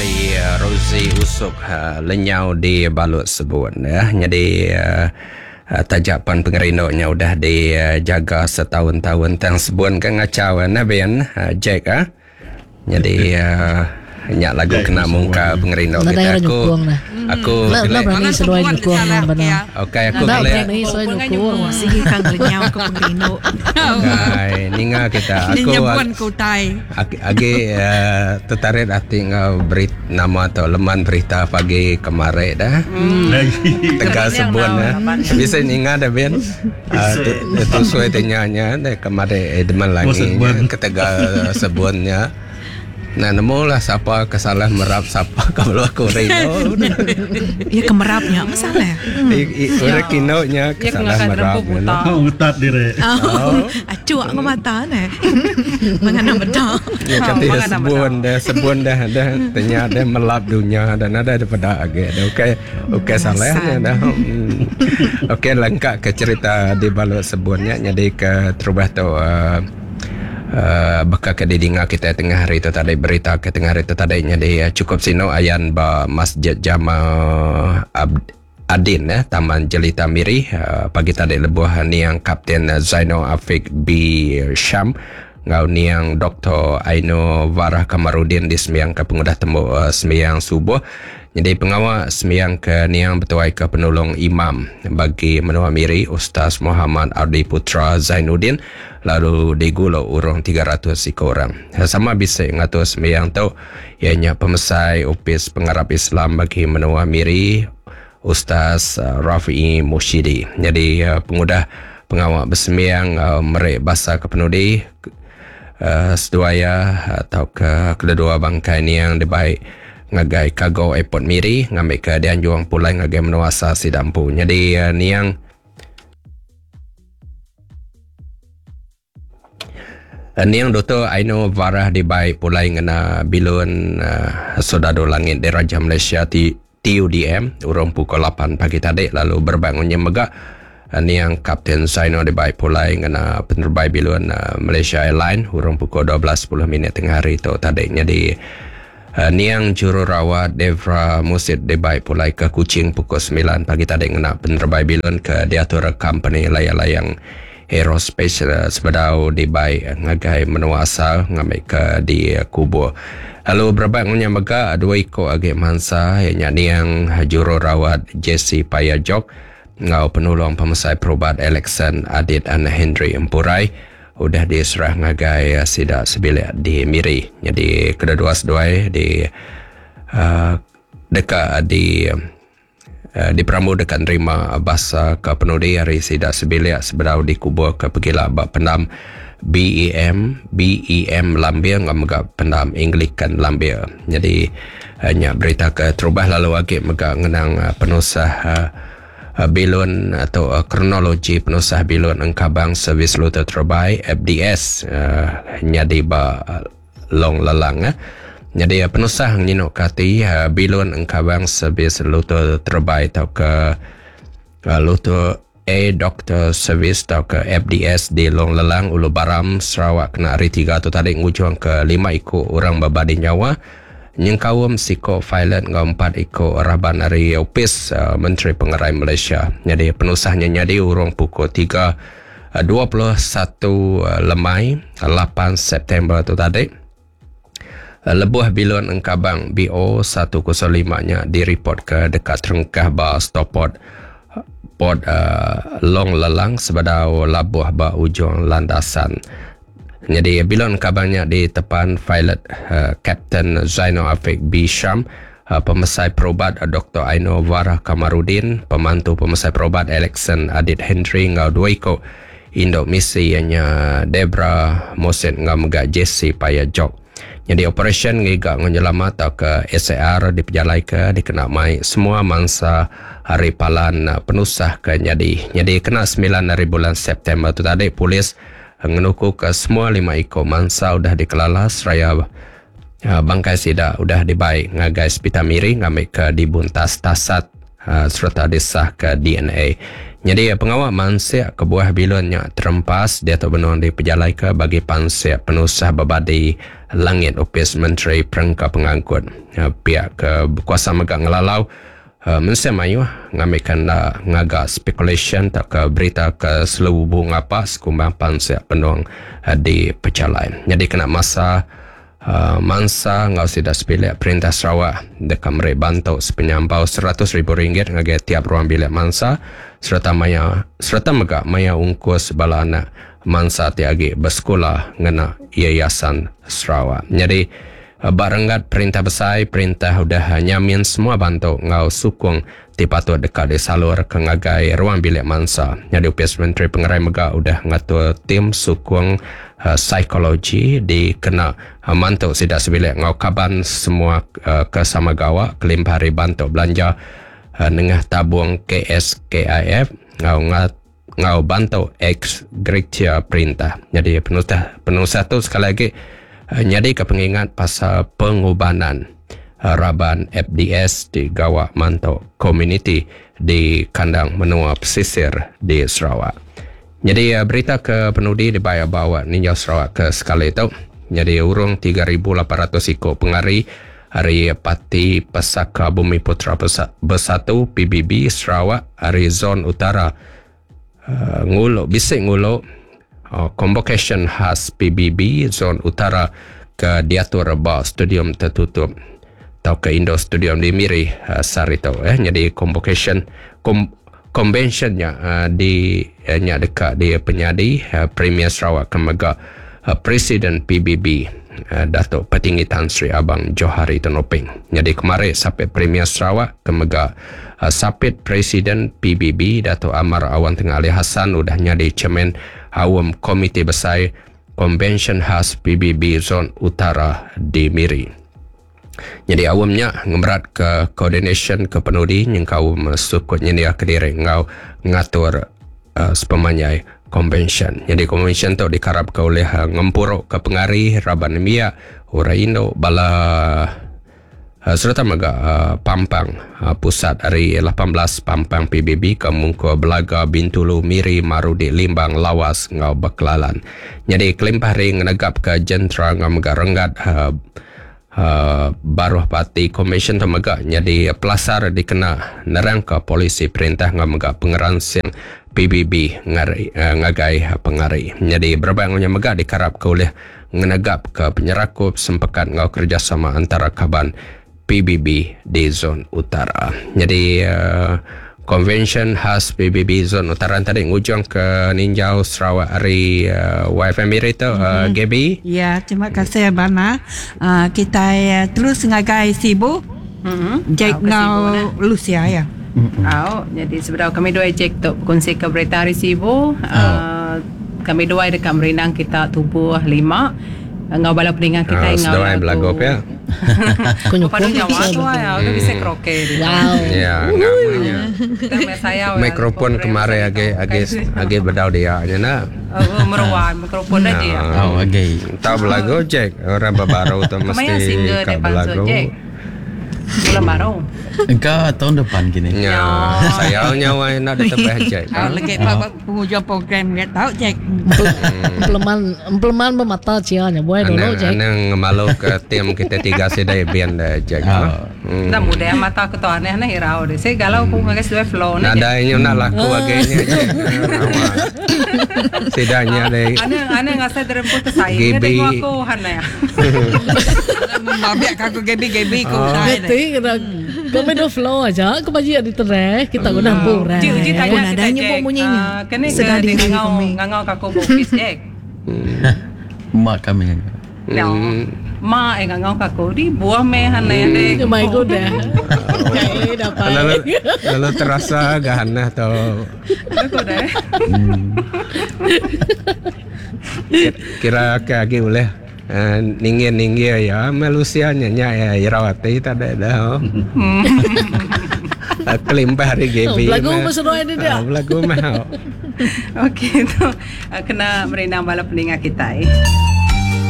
Ari Rosie Usop lenyau di balut sebun. Nyadi taja pan pengerindu nya udah dijaga setaun-taun tang sebun ke ngachau nah bin Jack ah. Nyadi nya lagu kena mungka pengerindu Nadai kitai orang aku nyukung dah. aku Enda enda gelek berani seduai nyukung nang bana. Okey aku Enda gelek berani seduai nyukung. Sigi ka ngelenyau ke pengerindu. Kai ninga kita Ni aku nyebun ke utai. agi tertarit ati enggau berit nama tu leman berita pagi kemari dah. Tegal sebun eh. Bisi ninga dah bin. Tusui ti nya nya deh kemari Edmund Langi nya ketegal sebun nya. Nah nemu lah sapa ke salah merap sapa ke belu aku rindu. Iya ke merap nya meh salah. Orang kinu nya ke salah merap. Oh ngetat diri. Achuk enggau mata neh. Mengena meda. Nya kati sebun deh sebun deh deh tenya deh melap dunya deh nadai deh peda agi deh ukai ukai salah nya dah. Okey lengka ke cerita di balut sebun nya nyadi ke terubah tu uhh baka ke didinga kitai tengah hari tu tadi berita ke tengah hari tu tadi nyadi chukup sinu ayan ba Masjid Jama Adin eh Taman Jelita Miri pagi tadi lebuh niang Kapten Zainal Afiq B Sham enggau niang Doktor Ainur Varah Kamarudin disembiangka pengudah tembu sembiang subuh. Nyadi pengawa sembiang ke niang betuaika penulung imam bagi menua Miri Ustaz Mohamad Ardi Putra Zainuddin lalu digulu urung 300 iku orang. Sama bisi ngatur sembiang tu iya nya pemesai Opis Pengarap Islam bagi menua Miri Ustaz Rafiee Mushidi. Nyadi pengudah pengawa besembiang enggau meri basa ke penudi seduai iya tauka kededua bangkai niang dibai ngagai Cargo Airport Miri ngambika dianjung pulai ngagai menua asal sida empu. Nyadi niang Niang Doktor Ainur Varah dibai pulai ngena bilun Soldadu Langit Diraja Malaysia ti TUDM urung pukul 8 pagi tadi lalu berebak ngunyim mega niang Kapten Zainal dibai pulai ngena penerebai bilun Malaysia Airlines urung pukul 12.10 minit tengah hari tu tadi. Nyadi niang jururawat Devra Musit dibai pulai ke Kuching pukul 9 pagi tadi ngena penerebai bilun ke diatur kompeni layang-layang Aerospace sebedau dibai ngagai menua asal ngambika dikubur. Lalu berebak enggau nya mega dua iku agi mansa iya nya niang jururawat Jesse Paya Jok enggau penulung pemesai perubat Alexson Adit Anak Henry Empurai udah diserah ngagai sida sebilik di Miri. Nyadi kedua-dua seduai di uhh deka di Diperambu deka nerima basa ke penudi ari sida sebilik sebedau dikuburka pegila ba pendam BEM BEM Lambir enggau mega pendam Anglican Lambir. Nyadi nya berita ke terubah lalu agi mega ngenang penusah bilun tu kronologi penusah bilun engkabang Servis Lutur Terebai FDS nyadi ba Long Lelang. Nyadi penusah ngenyinu ke ati bilun engkabang servis lutur terebai tauka lutur A Doctor Service tauka FDS di Long Lelang, Ulu Baram, Sarawak kena Hari Tiga tu tadi ngujungka lima iku orang bebadi nyawa nyengkaum siku pilot enggau empat iku raban ari Opis Menteri Pengerai Malaysia. Nyadi penusah nya nyadi urung pukul 3 21 lemai 8 September tu tadi lebuh bilun engkabang BO 105 nya diripotka deka terengkah ba stoport Port Long Lelang sebedau labuh ba ujung landasan. Nyadi bilun engkabang nya ditepan pilot Kapten Zainal Afiq B Sham, Pemesai Perubat Doktor Ainur Varah Kamarudin, Pemantu Pemesai Perubat Alexson Adit Henry enggau dua iku indu misi iya nya Debra Moset enggau mega Jesse Paya Jok. Nyadi operasyen ngiga enggau nyelama tauka SAR dipejalaika dikena mai semua mansa ari palan penusah ke nyadi. Nyadi kena semilan ari bulan September tu tadi polis Ngenukuka semua lima iku mansa udah dikelala seraya bangkai sida udah dibai ngagai Sepital Miri ngambika dibuntas tasat sereta disahka DNA. Nyadi pengawa mansik kebuah bilun nya terempas diatu benung dipejalaika bagi pansik penusah bebadi langit Opis Menteri Perengka Pengangkut. Piak ke bekuasa mega ngelalau mensia mayuh ngambika enda ngaga spekulasyen tauka berita ke selebubu ngapa sekumbang pansik benung dipejalai. Nyadi kena masa Mansa enggau sida sebilik Perintah Sarawak deka meri bantu sepenyampau 100 ribu ringgit ngagai tiap ruang bilik mansa sereta maya sereta mega maya ungkus bala anak mansa ti agi besekula ngena Yayasan Sarawak. Nyadi ba renggat perintah besai, perintah udah nyamin semua bantu enggau sukung ti patut deka disalurka ngagai ruang bilik mansa. Nyadi Opis Menteri Pengerai mega udah ngatur tim sukung psikologi dikena mantu sida sebilik enggau kaban semua ke sama gawa kelimpah ari bantu belanja nengah tabung KSKIF enggau enggau bantu ex gratia perintah. Nyadi penusah penusah tu sekali agi nyadika pengingat pasal pengubanan raban FDS ti gawa mantu komuniti di kandang menua pesisir di Sarawak. Nyadi berita ke penudi dibai ba ninjau Sarawak ke sekali tu. Nyadi urung 3800 iku pengari ari Parti Pesaka Bumiputera Bersatu PBB Sarawak ari Zon Utara ngulu bisi ngulu Convocation Khas PBB Zon Utara ke diatur ba Stadium Tertutup tauka Indoor Stadium di Miri sehari tu. Nyadi convocation convention nya di nya deka dipenyadi Premier Sarawak ke mega Presiden PBB Datuk Patinggi Tan Sri Abang Johari Tun Openg. Nyadi kemari sapit Premier Sarawak ke mega sapit Presiden PBB Datuk Amar Awang Tengah Ali Hasan udah nyadi chairman Aum Komiti Besai Konvensyen Khas PBB Zon Utara di Miri. Nyadi aum nya ngemeratka koordinasyen ke penudi nyengkaum sukut nyendiaka diri enggau ngatur sepemanjai konvensyen. Nyadi konvensyen tu dikarapka ulih ngempuruka pengari raban nembiak, orang indu, bala sereta mega pampang pusat ari 18 pampang PBB ke mungkur Belaga, Bintulu, Miri, Marudi, Limbang, Lawas enggau Ba'kelalan. Nyadi kelimpah ari ngenegapka jentera enggau mega renggat baruh parti konvensyen tu mega nyadi pelasar dikena nerangka polisi perintah enggau mega pengeransing PBB ngari ngagai pengari. Nyadi berebak enggau nya mega dikarapka ulih ngenegapka penyerakup sempekat enggau kerejasama antara kaban PBB di Zon Utara. Nyadi konvensyen khas PBB Zon Utara tadi ngujung ke ninjau Sarawak ari YFM Miri tu Gaby. Ya, terima kasih Abang. Kita terus ngagai Sibu. Jack ngau Lucia ya. Au, jadi sebedau kami dua Jack tu berkongsi ke berita hari Sibu, kami dua deka merindang kita tubuh lima ngau bala peninga kita Oh, ngau seduai belagu pia. Padu nyawa tu ya, udah bisa karaoke dia. Wow. Ya, ngamanya. Kita meh sayau ya, Mikrofon program kemari saya agi tu. agi agi bedau dia nya nak. Oh, meruan mikrofon aja ya. Oh, agi. Tahu belagu Jack, orang baru tu Kemaya mesti single ka dia pansut belagu. Jack. Bulan baru. Engkau tahun depan gini. Ya, sayau nyawa nak ditebah Jack. Ah, lagi pa penghujung program dia tahu Jack. Empleman empleman bermata cia nya buai dulu Anang Jack. anang malu ke tim kita tiga sidai band dah Jack. Ah. Dah muda mata aku tu aneh aneh irau deh. Saya galau aku ngagai sesuai flow ni. Nadai nya nak laku agi nya Jack. Sidanya deh. Aneh aneh ngasai deremput tu saya. GB. Dia tengok aku hana. Memabik aku Gaby Gaby ku Oh. saya. Ngerti kena kami do flow aja aku baju ada tereh kita guna burai. Uji uji tanya Oh, kita nadanya Jack. pun bunyinya. Ah, Kena ke Sedar dia diri ngangau kami. ngangau kaku bukis Jack. Mak kami. No. Ma eh ngangau kaku di buah meh hana deh. Ya my god dah. Okay, dapat. Lalu lalu terasa gahanah tu. Aku dah. Kira ke agi boleh ninggi-ninggi ya Malaysia nya nya ya Irawati tak ada dah. Kelimpah hari GB. Oh, belagu berseruai dia dia. Belagu mah. Okey tu kena merindang bala peninga kita. Eh.